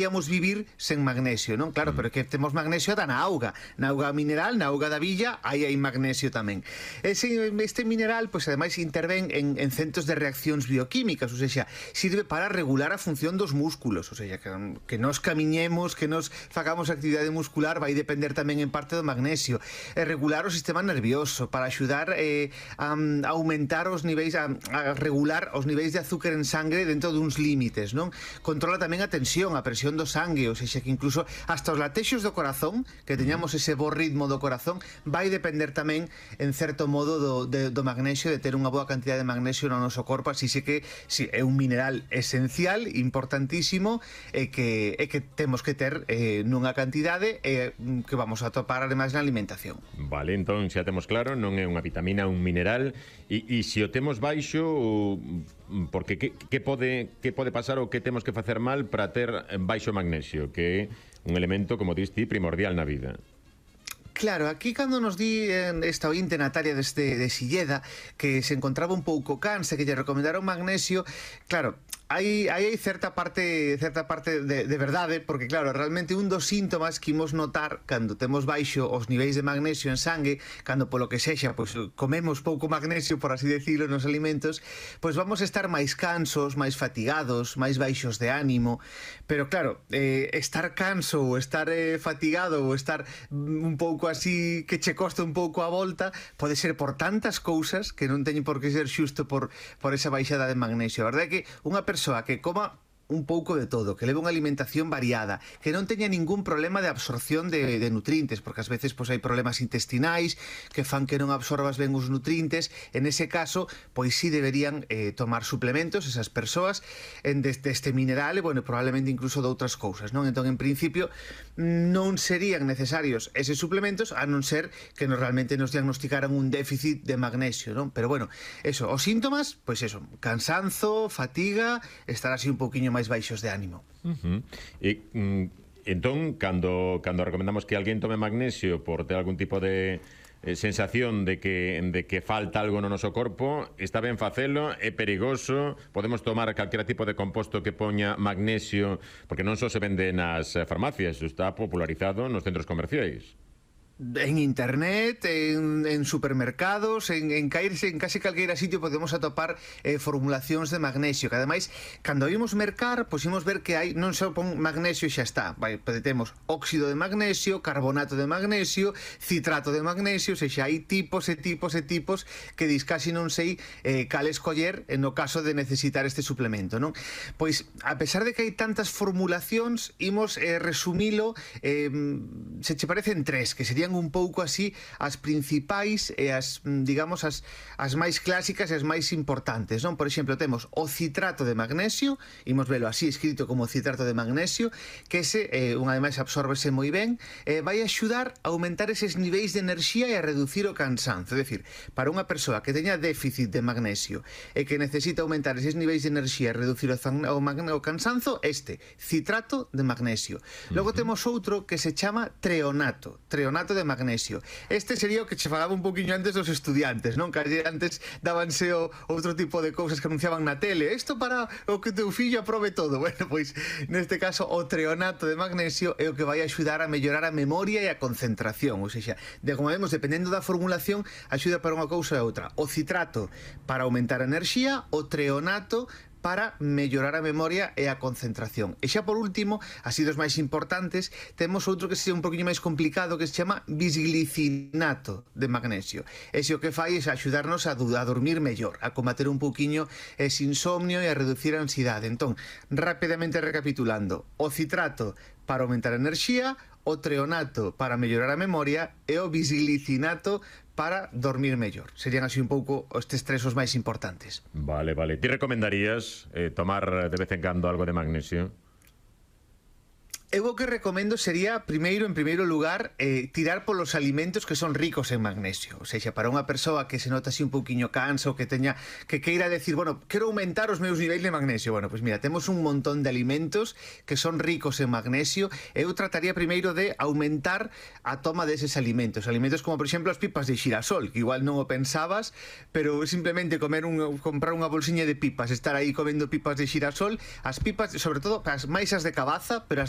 podíamos vivir sen magnesio, non? Claro, pero que temos magnesio da na auga mineral, na auga da villa, aí hai magnesio tamén. Este mineral, pois, ademais, intervén en centos de reaccións bioquímicas, ou seja, sirve para regular a función dos músculos, ou seja, que nos camiñemos, que nos facamos actividade muscular, vai depender tamén en parte do magnesio. Regular o sistema nervioso, para axudar a aumentar os niveis, a regular os niveis de azúcar en sangre dentro duns límites, non? Controla tamén a tensión, a presión do sangue, ou seja, que incluso hasta os latexos do corazón, que teñamos ese bo ritmo do corazón, vai depender tamén, en certo modo, do magnesio, de ter unha boa cantidad de magnesio no noso corpo. Así que sí, é un mineral esencial, importantísimo, e que temos que ter nunha cantidade que vamos a topar ademais na alimentación. Vale, entón xa temos claro, non é unha vitamina, un mineral, e se o temos baixo, porque que pode pasar ou que temos que facer mal para ter baixo magnesio, que é un elemento, como dis ti, primordial na vida? Claro, aquí cando nos di esta ointe Natalia de Silleda que se encontraba un pouco cansa, que lle recomendaron magnesio, claro, hai certa parte de verdade, porque claro, realmente un dos síntomas que imos notar cando temos baixo os niveis de magnesio en sangue, cando polo que sexa, pois comemos pouco magnesio, por así decirlo, nos alimentos, pois vamos a estar máis cansos, máis fatigados, máis baixos de ánimo. Pero claro, estar canso ou estar fatigado ou estar un pouco así que che costa un pouco a volta, pode ser por tantas cousas que non teñen por que ser xusto por esa baixada de magnesio. A verdade é que unha persoa que coma un pouco de todo, que leve unha alimentación variada, que non teña ningún problema de absorción de nutrientes, porque ás veces pois hai problemas intestinais que fan que non absorbas ben os nutrientes. En ese caso, pois sí deberían tomar suplementos esas persoas deste mineral e, bueno, probablemente incluso de outras cousas, non? Entón, en principio, non serían necesarios eses suplementos, a non ser que realmente nos diagnosticaran un déficit de magnesio, non? Pero, bueno, eso, os síntomas, pois eso, cansanzo, fatiga, estar así un pouquiño máis baixos de ánimo. E entón, cando recomendamos que alguén tome magnesio por ter algún tipo de sensación de que falta algo no noso corpo, está ben facelo, é perigoso, podemos tomar calquera tipo de composto que poña magnesio, porque non só se vende nas farmacias, está popularizado nos centros comerciais. En internet, en supermercados, en case calqueira sitio podemos atopar formulacións de magnesio, que ademais, cando vimos mercar, pois imos ver que hai, non só pon magnesio e xa está, temos óxido de magnesio, carbonato de magnesio, citrato de magnesio, ou seja, hai tipos e tipos e tipos que dis casi non sei cal escoller no caso de necesitar este suplemento, non? Pois, a pesar de que hai tantas formulacións, imos resumilo, se che parecen tres, que serían un pouco así as principais e as, digamos, as máis clásicas e as máis importantes, non? Por exemplo, temos o citrato de magnesio, imos velo así escrito como citrato de magnesio, que ese, unha vez máis, absórbese moi ben, vai axudar a aumentar eses niveis de enerxía e a reducir o cansanzo. É dicir, para unha persoa que teña déficit de magnesio e que necesita aumentar eses niveis de enerxía e reducir o cansanzo, este, citrato de magnesio. Logo temos outro que se chama treonato de magnesio. Este sería o que che falaba un poquinho antes dos estudiantes, non? Que antes dábanse outro tipo de cousas que anunciaban na tele, isto para o que teu fillo aprobe todo. Bueno, pois neste caso o treonato de magnesio é o que vai axudar a mellorar a memoria e a concentración, ou seja, como vemos, dependendo da formulación, axuda para unha cousa e outra. O citrato para aumentar a enerxía, o treonato para mellorar a memoria e a concentración. E xa por último, así dos máis importantes, temos outro que sería un poquinho máis complicado, que se chama bisglicinato de magnesio. Ese o que fai é axudarnos a dormir mellor, a combater un pouquiño ese insomnio e a reducir a ansiedade. Entón, rapidamente recapitulando, o citrato para aumentar a enerxía, o treonato para mellorar a memoria e o bisglicinato para dormir mellor. Serían así un pouco estes tres os máis importantes. Vale. Ti recomendarías tomar de vez en cando algo de magnesio? Eu o que recomendo sería, en primeiro lugar, tirar polos alimentos que son ricos en magnesio. Ou seja, para unha persoa que se nota así un pouquiño cansa ou que queira decir, bueno, quero aumentar os meus niveis de magnesio. Bueno, pois mira, temos un montón de alimentos que son ricos en magnesio. Eu trataría primeiro de aumentar a toma deses alimentos. Alimentos como, por exemplo, as pipas de xirasol, que igual non o pensabas, pero simplemente comprar unha bolsiña de pipas, estar aí comendo pipas de xirasol. As pipas, sobre todo, as máis as de cabaza, pero as de